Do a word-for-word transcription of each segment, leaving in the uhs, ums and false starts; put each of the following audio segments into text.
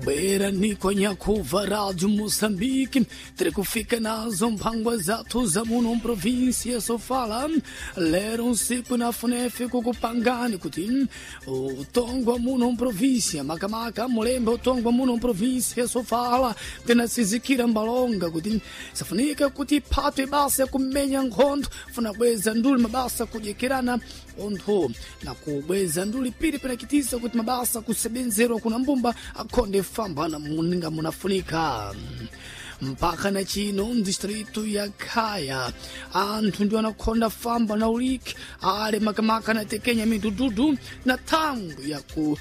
Bwera nikonyakuva Rádio Moçambique, tiri kufika nazo mphangwa zathu za muno mprovinsia Sofala. Lero usiku na funefe kukupangani kuti utongwa muno mprovinsia makamaka mulembe utongwa muno mprovinsia Sofala tinasizikira mbalonga kuti safunika kuti phatwe basa kumenya nkhondo funa bweza nduli mabasa kudyekirana onthu na kubweza nduli pili pinakitisa kuti mabasa kusebenzerwa kuna mbumba akhonde fambana muninga munafunika. Mpaka na chino mdistritu ya Khaya anthu ndi anakhonda famba na uliki ale makamaka na tekenya midududu na thangu ya ku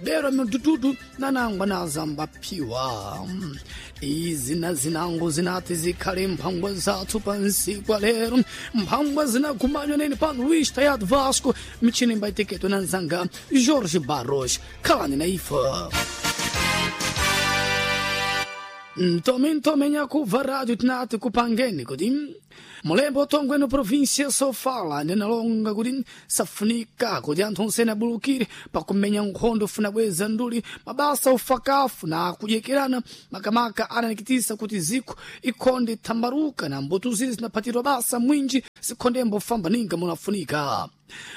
berwa midududu nanangwa nazambaphiwa. Izi na zinango zinati zikhale mphangwa zathu pansikwa lero, mphangwa zinakumanywa nene pano Luís Tayado Vasco, michini mbaitekedwa na nzanga Jorge Barros. Khalani na ife. Ntome ntome nyakuva rádio tinati kupangeni kuti mulembo utongweno província Sofala ndinalonga kuti safunika kuti anthu onsene abulukire pakumenya nkhondo funa bweza nduli mabasa ufakafu na kudyekerana makamaka ananikitisa kuti ziko ikhonde thambaruka na mbuto zili zinaphatirwa basa mwinji zikhonde mbofamba ninga munafunika.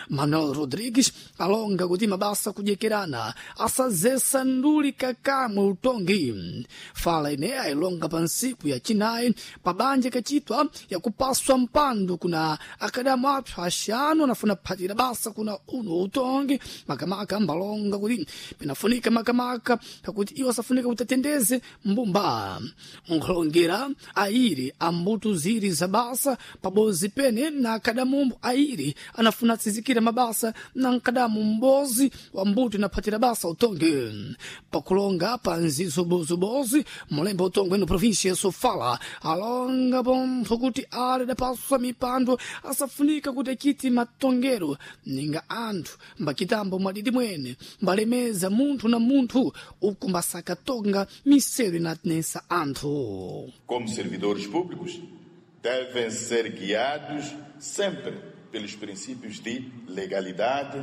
Manuel Rodrigues alonga kuti mabasa kudyekerana asazesa nduli kakamwe utongi. Fala ineya ilonga pa nsiku ya chinayi pabanja kachitwa yakupaswa mpando kuna akadamu apso axanu anafuna phatira basa kuna uno utongi makamaka mbalonga kuti pinafunika makamaka pakuti iwo asafunika kuti atendeze mbumba nkhulongera ayiri ambuto ziri za basa pabozi pene na akadamumbo ayiri anafuna atsizikira mabasa na nkadamu mbozi wa mbuto inaphatira basa utongi. Pakulonga pa nzizobozobozi mulembe utongwe no província ya Sofala alonga pontho kuti ale dapaswa mipando asafunika kuti achiti matongero ninga anthu mbakitambo mwadidi mwene mbalemeza munthu na munthu uku mbasakatonga misero inatinesa anthu. Como servidores públicos, devem ser guiados sempre pelos princípios de legalidade,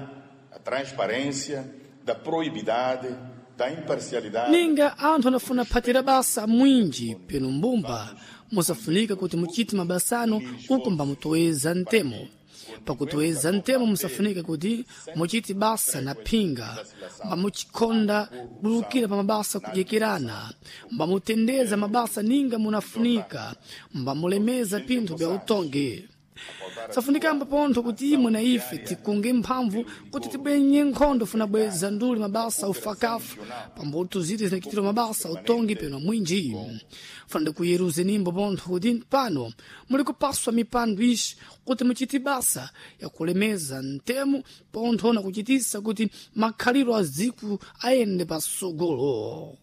a transparência, da proibidade, da imparcialidade. Ninga anthu anafuna phatira basa mwinji peno mbumba musafunika kuti muchite mabasano uku mbamutoweza ntemo. Pakutoeza ntemo musafunika kuti muchite basa na phinga, mbamuchikhonda bulukira pa mabasa kudyekerana, mbamutendeza mabasa ninga munafunika, mbamulemeza pinthu bya utongi. Safunikamba pontho kuti imwe na ife tikunge mphamvu kuti tibwenye nkhondo funa bweza nduli mabasa ufakafu pambuto ziti zinakitira mabasa utongi peno mwinji. Funa ndikuyeruze nimbo pontho kuti pano muli kupaswa mipando ixi kuti muchite basa yakulemeza ntemo pontho na kuchitisa kuti makhaliro a ziku ayende pasogolo.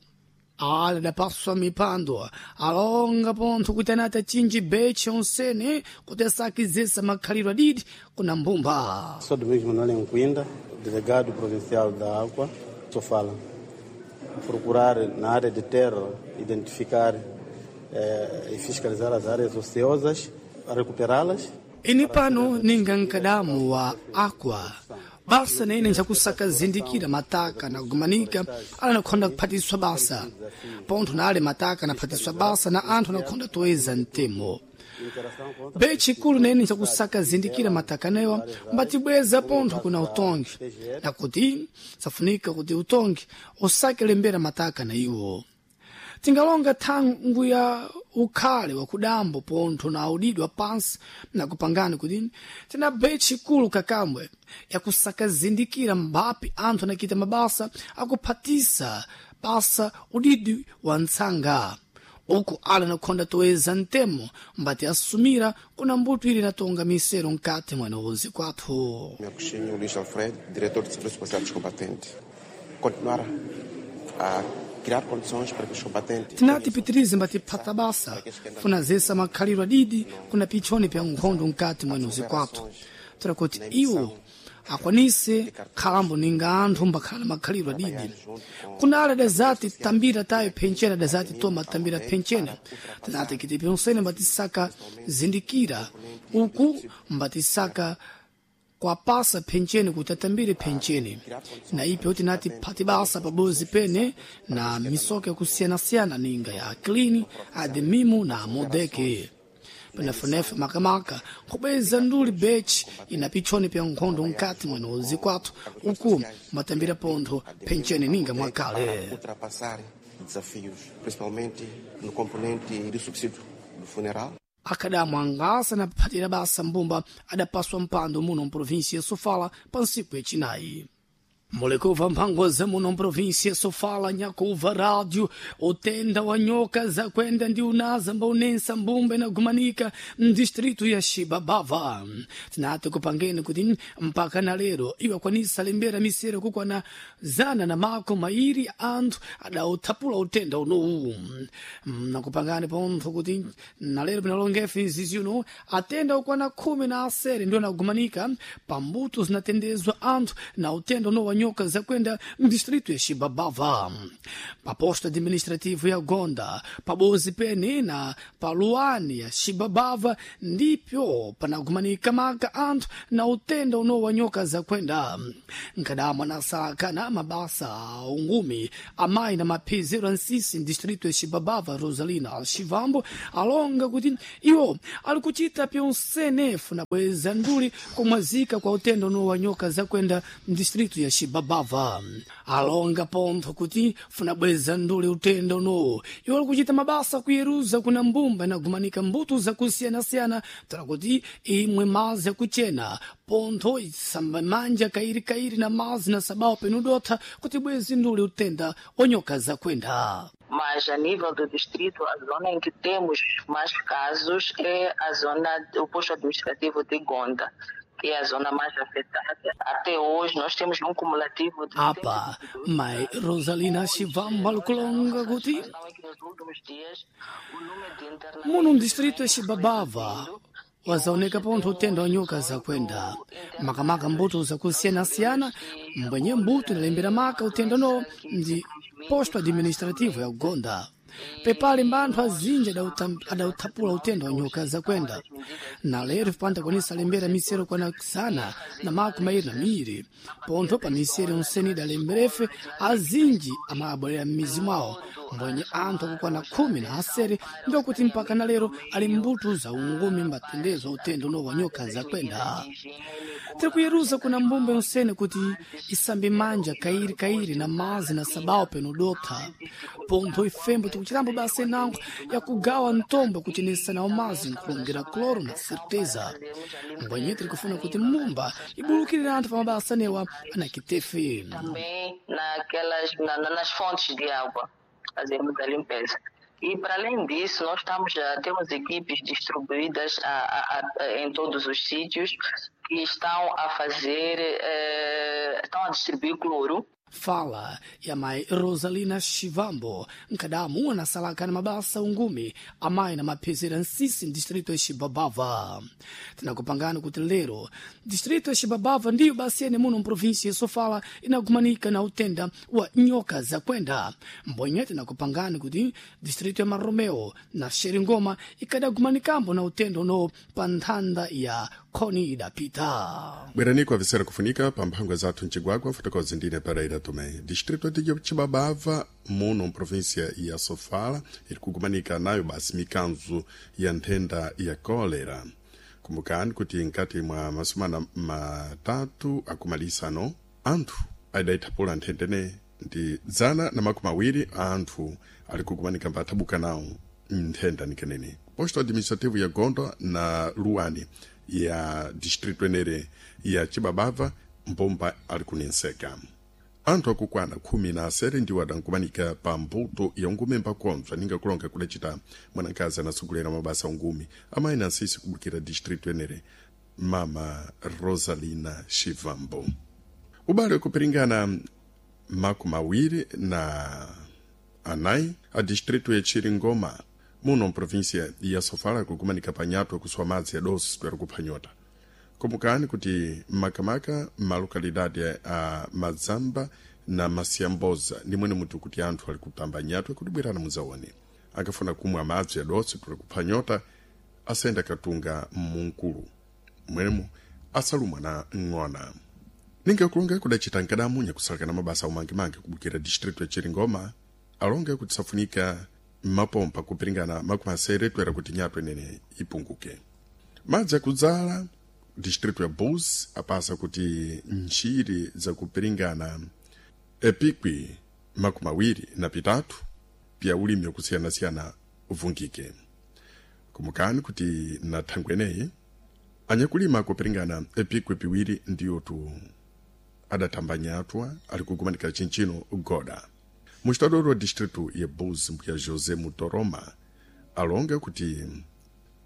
Ale dapaswa mipando alonga pontho kuti anati achinji beche onsene kuti asakizesa makhaliro adidi kuna mbumba. Sou Domingos Manuel Nkuinda, delegado provincial da Água, Sofala. Procurar na área de terra, identificar eh, e fiscalizar as áreas ociosas, recuperá-las. Ini pano ninga nkadamu wa Aqua basa nene nchakusakazindikira mataka na kugumanika ala nakhonda kuphatiswa basa pontho na ale mataka naphatiswa basa na anthu anakhonda toeza mtemo bechikulu nene nchakusakazindikira mataka newa mbatibweza pontho kuna utongi nakuti safunika kuti utongi usakelembera mataka na iwo. Tingalonga thangu ya ukhale wakudambo pontho na audidwa pansi nakupangani kuti tina bechikulu kakamwe yakusakazindikira mbapi anthu anakita mabasa akuphatisa basa udidi wa ntsanga uku ala nakhonda toeza ntemo mbati asumira kuna mbuto ili natonga misero mkati mwanozi kwathu. Agostinho Luís Alfredo, diretor de Serviço Policial dos Combatentes. Continuar a criar condições para que os combatentes Tinati pitirize mbatiphata basa funazesa makhaliro adidi kuna pichoni pya nkhondo mkati mwenozi kwathu tora kuti iwo akwanise khalambo ninga anthu mbakhala makhaliro adidi. Kuna ale dazati tambira tayo phenchena dazati toma tambira phenchena tinati kiti pyonsene mbatisaka zindikira uku mbatisaka Kwapasa phencheni kuti atambire phencheni na ipyo tinati phati basa pabozi pene na misoka yakusiyanasiyana ninga ya klini ademimu na modeke penefunefu makamaka kubweza nduli bechi ina pichoni pya nkhondo nkati mwene zikwathu uku matambira pontho phencheni ninga mwakale. Ultrapassar desafios, principalmente no componente do subsídio do funeral. Akadamu angasa na phatira basa mbumba adapaswa mpando muno mprovinsia ya Sofala pa ntsiku yacinayi. Mulikuva mphango za muno mprovinsia ya Sofala, nyakuva rádio utenda wa nyoka za kwenda ndi unaza mbaunensa mbumba inagumanika mdistritu ya Xibabava. Tinati kupangeni kuti mpaka na lero iwakwanisa lembera misero kukwana zana na mako mairi anthu adauthapula utenda unowu. Nakupangani pontho kuti na lero pinalongefe izizi uno atenda ukwana khumi na asere ndio anagumanika pambuto zinatendezwa anthu na utenda uno wa nyoka zakwenda mdistrito ya Xibabava, pa posto administrativo ya Gonda, pabozi pene na paluani ya Xibabava ndipyo panagumanika maka anthu na utenda uno wa nyoka zakwenda. Nkadamwa anasaka na mabasa a ungumi amayi na maphizero ansisi mdistrito ya Xibabava, Rosalina Xivambo alonga kuti iwo ali kuchita pyonsenefu na bweza nduli kumwazika kwa utenda uno wa nyoka zakwenda mdistrito ya Xibabava. Alonga pontho kuti funa bweza nduli utenda unowo iwo ali kuchita mabasa kuyeruza kuna mbumba inagumanika mbuto zakusiyanasiyana tala kuti imwe mazi akuchena pontho isamba manja kairi kairi na mazi na sabao penudotha kuti bwezi nduli utenda onyoka zakwenda. Mas a nível do distrito, a zona em que temos mais casos é a zona, o posto administrativo de Gonda, que é a zona mais afetada. Até hoje nós temos um cumulativo de Apa mai Rosalina Xivamba lukulonga kuti muno mdistrito ya Xibabava wazaoneka pontho utenda wa nyoka zakwenda, makamaka mbuto zakusiyanasiyana mbwenye mbuto inalembera maka utenda uno ndi posto administrativo ya Gonda. Pepali mbanthu azinji adauthapula utenda wa nyoka zakwenda na lero panda kwanisa lembera misero kwana sana na mako mairi na miri pontho pa misero onsene idalemberefe azinji amabwerera m'mizi mwawo mbwenye anthu akukwana khumi na asere ndiokuti mpaka na lero ali mbuto za ungumi mbatendezwa utenda uno wa nyoka zakwenda. Tiri kuyeruza kuna mbumba yonsene kuti isambe manja kairi kairi na mazi na sabao penudotha pontho ifembo tikuchitambo basa inango yakugawa ntombo kuchenesa nawo mazi nkulongera cloro na certeza mbwenye tiri kufuna kuti mbumba ibulukirire anthu pa mabasa newa anakitefe. Também naquelas, na, na, nas fontes de água, fazemos a limpeza. E, para além disso, nós estamos, já temos equipes distribuídas a, a, a, em todos os sítios que estão a fazer, eh, estão a distribuir cloro. Fala ya mai Rosalina Xivambo nkadamu anasalaka na mabasa ungumi amayi na maphezera nsisi mdistrito ya Xibabava. Tinakupangani kuti lero distrito ya Xibabava ndiyo basi ene muno mprovinsia ya Sofala inagumanika na utenda wa nyoka zakwenda. Mbwenye tinakupangani kuti distrito ya Maromeo na Xeringoma ikadagumanikambo na utenda uno pa nthanda ya khoni idapita. Bwerani kwa kufunika pa mphangwa zathu mcigwagwa fotokozi ndine Pereira Tomé. Distrito de Chibabava muno mprovinsia ya Sofala iri kugumanika nayo basi mikanzo ya nthenda ya kolera. Kumbukani kuti nkati mwa masumana matatu akumalisano anthu adaithapula nthendene ndi zana na makumi awiri a anthu ali kugumanika mbathabuka nawo nthenda nikenene. Posto administrativo ya Gonda na Luani ya distrito enere ya Chibabava mbomba ali kunenseka. Anthu akukwana khumi na asere ndiwo adankumanika pa mbuto ya ungumi mbakonzwa ninga kulonga kudacita mwanakazi anasogolera mabasa ungumi amayi na asisi kubukira distrito enere mama Rosalina Xivambo. Ubale wakupiringana makumi awiri na anayi a distrito ya Chiringoma muno mprovinsia ya Sofala kukumanika panyato kuswa madzi adosi twera kuphwanyota. Kumbukani kuti makamaka malokalidade a Madzamba na Masiamboza ndi mwene mutu kuti anthu ali kutamba nyatwe kuti bwerana mudzaone akafuna kumwa madzi adosi twera kuphwanyota asayenda katunga mmunkulu mwenemo Asalumwa na ng'ona. Ninga kulonga kudacita nkadamu nyakusalakana mabasa umangimangi kubukira distritu ya Chiringoma alonga kuti safunika mapompa kupiringana makumi asere toera kuti nyato inene ipunguke. Madzi akudzala distritu ya Bus apasa kuti ntchiri zakupiringana epikwi makumi awiri na pitatu pya ulimi wakusiyanasiyana uvungike. Kumukani kuti na thangwe eneyi anyakulima kupiringana epikwi piwiri ndiyotu adatamba nyatwa ali kugumanika chinchino goda. Mustadoro wa distritu ya Bus mbuya José Mutoroma alonga kuti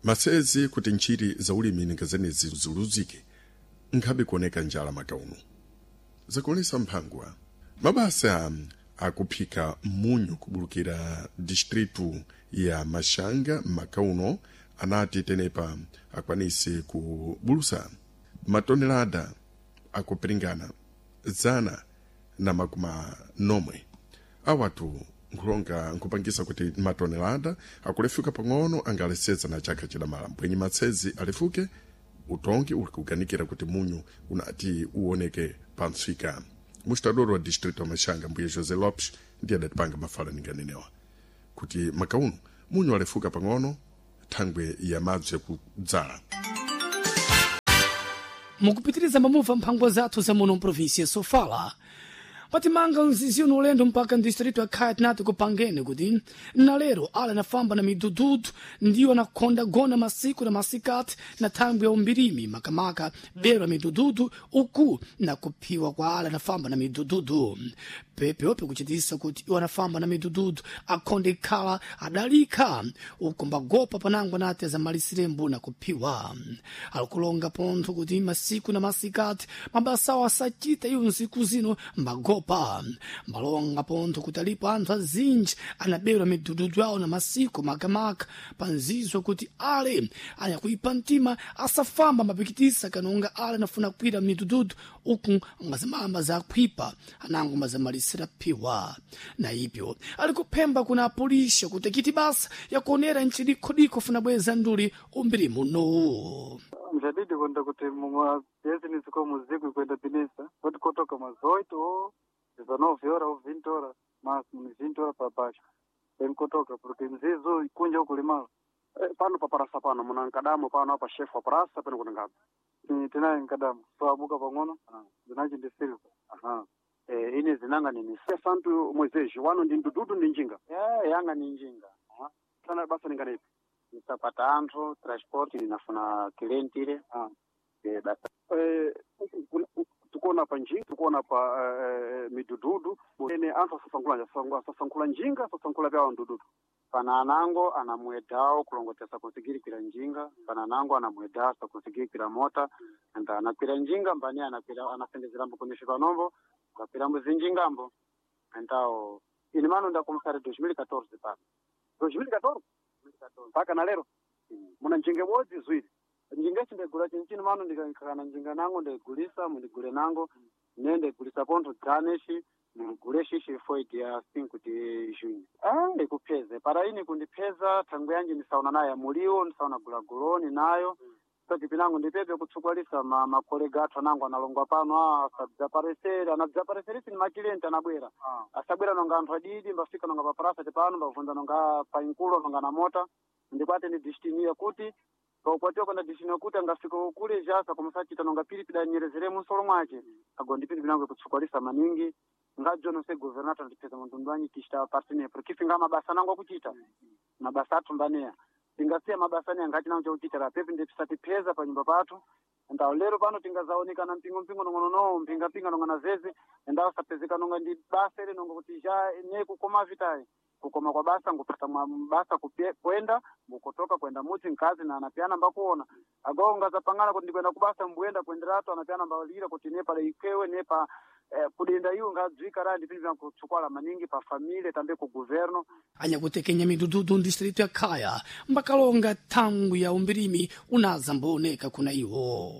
masezi kuti ntchiri za ulimi ninga zenezi ziluzike nkhabe kuoneka njala makauno. Zakuonesa mphangwa mabasa akuphika munyu kubulukira distritu ya Mashanga makauno anati tenepa akwanise kubulusa matonelada akupiringana zana na makumi nomwe awatu nkhulonga nkhupangisa kuti matonelada akulefuka pang'ono angaleseza na chaka chidamala mbwenyi matsezi alefuke utongi uli kuganikira kuti munyu unati uoneke pamsika. Mustadoro wa distrito wa Mashanga mbuye José Lopes ndiye adatipanga mafala ninganenewa kuti makauno munyu alefuka pang'ono thangwe ya madzi yakudzala. Mukupitiriza mamuva mphangwa zathu za muno mprovinsia Sofala patimanga mzizi uno ulendo mpaka mdistrito ya Khaya tinati kupangene kuti nalero ala anafamba na midududu ndiyo anakonda gona masiku na masikati na thangwi ya umbirimi makamaka bero ya midududu uku na kuphiwa kwa ala anafamba na midududu pepeope kuchitisa kuti iwo anafamba na midududu akhonde ikhala adalikha uku mbagopa panango anati azamalisirembu na kuphiwa. Alikulonga pontho kuti masiku na masikati mabasawo asachita iwo nsiku zino mbagopa. Mbalonga pontho kuti alipo anthu azinji anaberwa midududu yawo na masiku makamaka panzizo kuti ale anyakuipa mtima asafamba mapikitisa kanonga ale anafuna kwira midududu uku ngazimamba zakhwipa anango mazamalisira phiwa. Na ipyo ali kuphemba kuna apolisi kuti kiti basa yakuonera nchidikhodikho funa bweza nduli umbiri muno. Mjadidi kwenda kuti mumabhizinesi ko muziku kwenda binisa kuti kotoka mazoito o dezenove horas ou vinte horas máximo ni vinte horas para baixo tem kotoka porque mzizo ikunja ukulimala. Eh, pano pa parasa pano muna nkadamo pano apa chef wa parasa pano kuti ngapi? Ni tinaye nkadamo so abuka pang'ono zinachi ndi silver. Aha. Eh, ine zinanga nini santu Moisés wano ndi ndududu ndi njinga. Eh, yanga ni njinga. Aha. Sana basa ninganepi nisapata anthu transport ninafuna clientile. Ah. Eh, basa. Eh, tukuona pa njinga tukuona pa eh, midududu ene anthu asasankhula asasankhula njinga asasankhula vyawo ndududu. Pana anango anamwedawo kulongotesa kusigirikwira njinga, pana anango anamweda asakusigirikwira mota and anakwira njinga mbani anakwira anasendezera kunisha panombo ngakwira mbuzinjingambo entawo ini mano ndakumsari dois mil e catorze pano dois mil e catorze mpaka na lero muna njinga ibodzi ziwiri. Njinga ichi ndaigula chinchini mano ndikakana njinga nango ndaigulisa mundigule nango ne ndaigulisa pontho dzane-ci mundigule xixi foi dia cinco de junho. Ah, ndikupheze para ini kundipheza thangwe yanji ndisaona nayo muliwo ndisaona gulaguloni nayo sati pinango ndipepe kutsukwalisa ma makolega athu anango analongwa pano ah, asabzaparesere anabzapareserisi ni makilenti anabwera. Ah. Asabwera nonga anthu adidi mbafika nonga paparasa tipano mbavunza nonga painkulo nonga na mota ndikwate ni destiny yakuti paukwatiwa kwenda destiny yakuti angafika kule jasa kumusachita nonga pilipili anyerezere munsolo mwace ago ndi pilipili nango ikutsukwalisa maningi ngajo nonse governator ndipeza muntundu wanyi tichita partener porque finga mabasa nango akuchita mabasa athu mbaneya tingasiya mabasa neya ngati nango chakuchita la pepe ndipisatipeza pa nyumba pathu ndawo lero pano tingazaonekana mpingo mpingo nong'ono mpinga mpinga nong'ona zeze ndawo sapezeka nonga ndi basa ile nonga kuti ja ne kukoma vitayi kukoma kwa basa ngupata mwa basa kupye, kwenda ngukotoka kwenda mudzi nkazi na anapiana mbakuona agawo ngazapangana kuti ndikwenda kubasa mbuyenda kuenderatu anapiana mbalira kuti ne pala ikewe ne pa eh, kudenda iwo ngadzwika ra ndipili vyankutsukwala maningi pa família tambe ku governo. Anyakutekenya midududu mdistrito ya Khaya mbakalonga thangwi ya umbirimi unaza mbooneka kuna iwo.